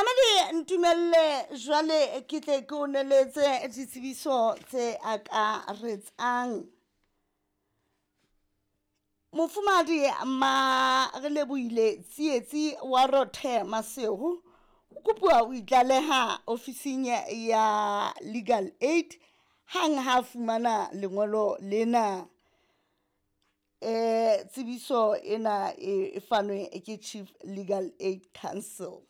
Mamedi, ntumelle jwale ke tle ke o neletse ditsebiso tse akaretsang. Mofumahadi ma re lebohile Tsietsi wa Rothe Maseru o kopuwa ho itlaleha ofising ya Legal Aid hang ha fumana lengolo lena. Tsebiso ena e fanwe ke Chief Legal Aid Council.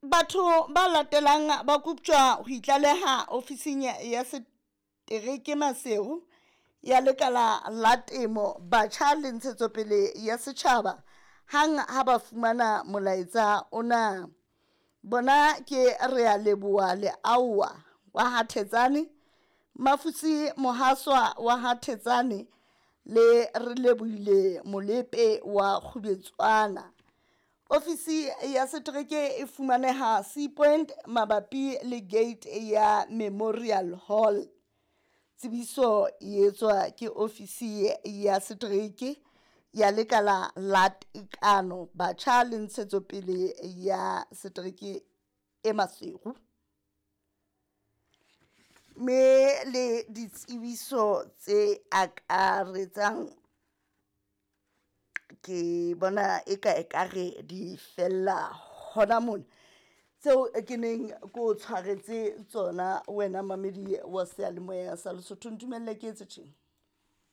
Batho ba latelang ba koptjwa ho itlaleha ofising ya setereke Maseru ya lekala la temo, batjha le ntshetsopele ya setjhaba hang ha ba fumana molaetsa ona. Bona ke Rea Leboha Leaowa wa ha Thetsane, Mafusi Mohaswa wa ha Thetsane le Re Lebohile Molepe wa Kgubetswana. Ofisi ya setereke e fumaneha Sea Point mabapi le gate ya Memorial Hall. Tsebiso e etswa ke ofisi ya setereke ya lekala la tekano, batjha le ntshetsopele ya setereke e Maseru. Me le ditsebiso tse akaretsang ke bona eka ekare di fella hona mona, tseo ke neng ke o tshwaretse tsona wena mamedi wa seyalemoya sa Lesotho. Ntumelle ke etse tjena.